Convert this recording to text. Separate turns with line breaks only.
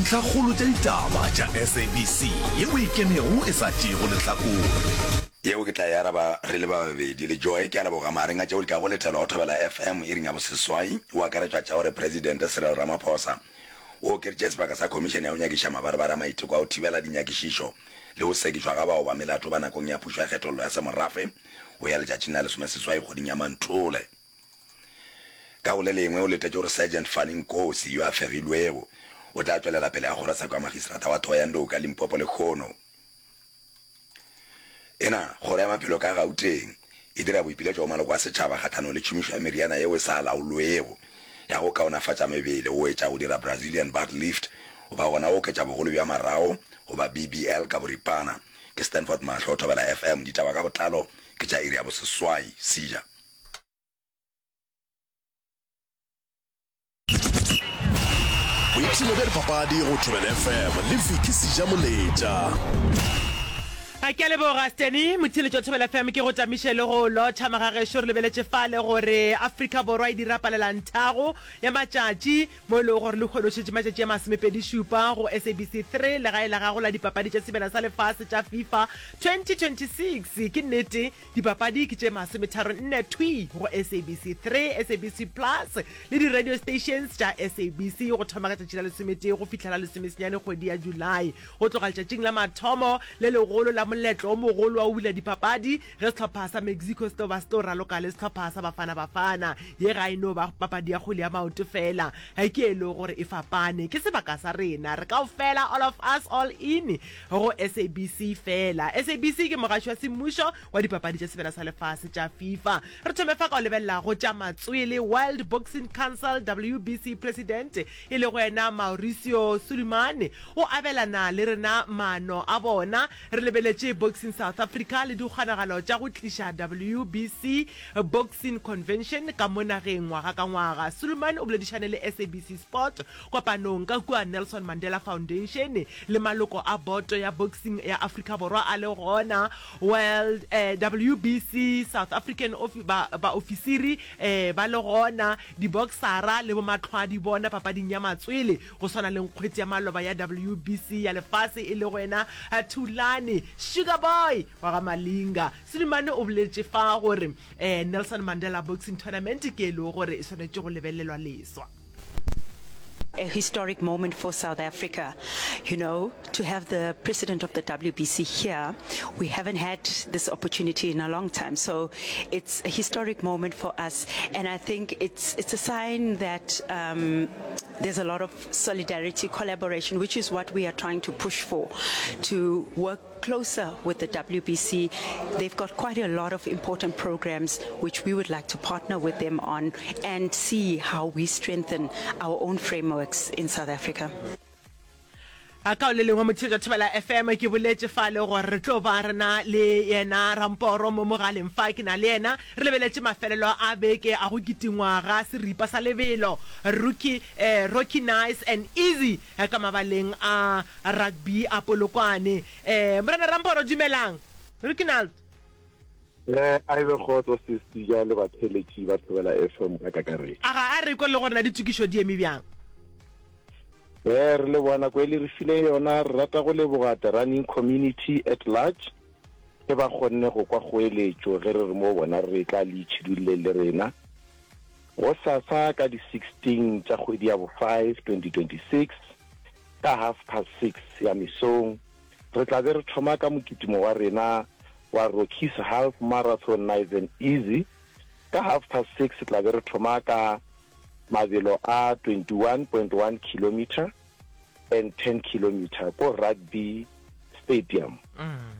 Dintlhakgolo tša ditaba tša SABC yeo e ikemego e sa tšeego lehlakore.
Yeo ke tla e araba re le ba babedi. Le Joy, ke a leboga. Magareng a tšeo di tlago letelwa go Thobela FM iring ya boseswai, go akaretšwa tša gore Presidente Cyril Ramaphosa o okeditše sebaka sa khomišene ya go nyakiša mabarebare a maiteko a go thibela dinyakišišo le go sekišwa ga bao ba melato ba nakong ya pušo ya kgethollo ya semorafe go ya letšatšing la lesomeseswai kgweding ya Manthole. Ka go le lengwe, o letetše gore Sergeant Fanny Nkosi, yo a fegilwego, o tla tšwelela pele ga kgorotsheko ya magistrata wa Thohoyandou ka Limpopo lehono. Ena, Kgoro ya Maphelo ka Gauteng e dira boipiletšo go maloko a setšhaba kgahlanong le tšhomišo ya meriana yeo e sa laolwego ya go kaonafatša mebele go etša go dira Brazilian butt lift goba gona go oketša bogolo bja marago goba BBL ka boripana. Ke Stanford Mahlo, Thobela FM. Ditaba ka botlalo ke tša iri ya boseswai. Seja.
Boipshino bja dipapadi go Thobela FM le Vicky Sejamoletša.
A ke a leboga Steny motheeletši wa Thobela FM ke go tamiše le go lotšha magagešo re lebeletše fale gore Afrika Borwa e dira palelanthago ya matšatši mo e lego gore lehono šetše matšatši a masomepedi šupa go SABC 3 legae la gago la dipapadi tša sebjana sa lefase tša FIFA 2026 ke nnete Dipapadi ke tše masometharonne thwii go SABC 3, SABC Plus le di-radio stations tša SABC go thoma ka tšatši la lesometee go fihla la lesomesenyane kgwedi ya Julae. Go tloga letšatšing la mathomo le legolo la moletlo o mogolo wa go bula dipapadi ge sehlopha sa Mexico se tlo ba se tlo raloka le sehlopha sa Bafana Bafana. Ye ga e no ba papadi ya kgwele ya maoto feela, ke e lego gore e fapane. Ke sebaka sa rena, re kaofela, all of us, all in. Go SABC feela. SABC ke mogaši wa semmušo wa dipapadi tša Sebjana sa Lefase tša FIFA. Re thome fa ka go lebelela go tša matswele. World Boxing Council, WBC, President e lego yena Mauricio Sulaiman o abelana le rena maano a bona. Re lebeletše Boxing South Africa le dikgonagalo tša go tliša WBC Boxing Convention ka mo nageng ngwaga ka ngwaga. Sulaiman o boledišane le SABC Sport Kopanong ka kua Nelson Mandela Foundation le maloko a boto ya boxing ya Afrika Borwa a le gona, World eh, WBC South African ofi, ba, baofisiri eh, ba le gona, diboksara le bomahlwadi bona papading ya matswele go swana le nkgwete ya maloba ya WBC ya lefase e lego yena Thulani Sugar Boy wa ga Malinga. Sulimane o boletše fa gore eh, Nelson Mandela Boxing Tournament ke e lego gore e swanetše go lebelelwa leswa.
A historic moment for South Africa, you know, to have the president of the WBC here. We haven't had this opportunity in a long time, so it's a historic moment for us, and I think it's, it's a sign that um, there's a lot of solidarity, collaboration, which is what we are trying to push for, to work closer with the WBC. They've got quite a lot of important programs which we would like to partner with them on and see how we strengthen our own frameworks in South Africa.
A ka le lengwe motheetša Thobela FM ke boletše fale gore re tlo ba re na le yena Ramporo mo mogaleng fa ke na le yena re lebeletše mafelelo a beke a go kitingwa ga seripa sa lebelo Rookie eh, Rocky Nice and Easy ka mabaleng a rugby a Polokwane. Eh, Morena Ramporo, dumelang. Reginald.
Eh, a e be kgotso Sesi ja le batheeletši ba Thobela FM ka kakaretšo.
A ga a re kwe le gore na ditokišo di eme bjang?
Eh, re leboga nako e le re fileng yona. Re rata go leboga the running community at large ge ba kgonne go kwa kgoeletšo ge re re mo bona re tla le itšhidulleng le rena. Gosasa ka di 16 tša kgwedi ya bo 5, 2026, ka half past 6 ya mesong, re tla be re thoma ka mokitimo wa rena wa Rockies Half Marathon Nice and Easy. Ka half past 6 tla be re thoma ka mabelo a 21.1 kilometre and 10 kilometre ko Rugby Stadium.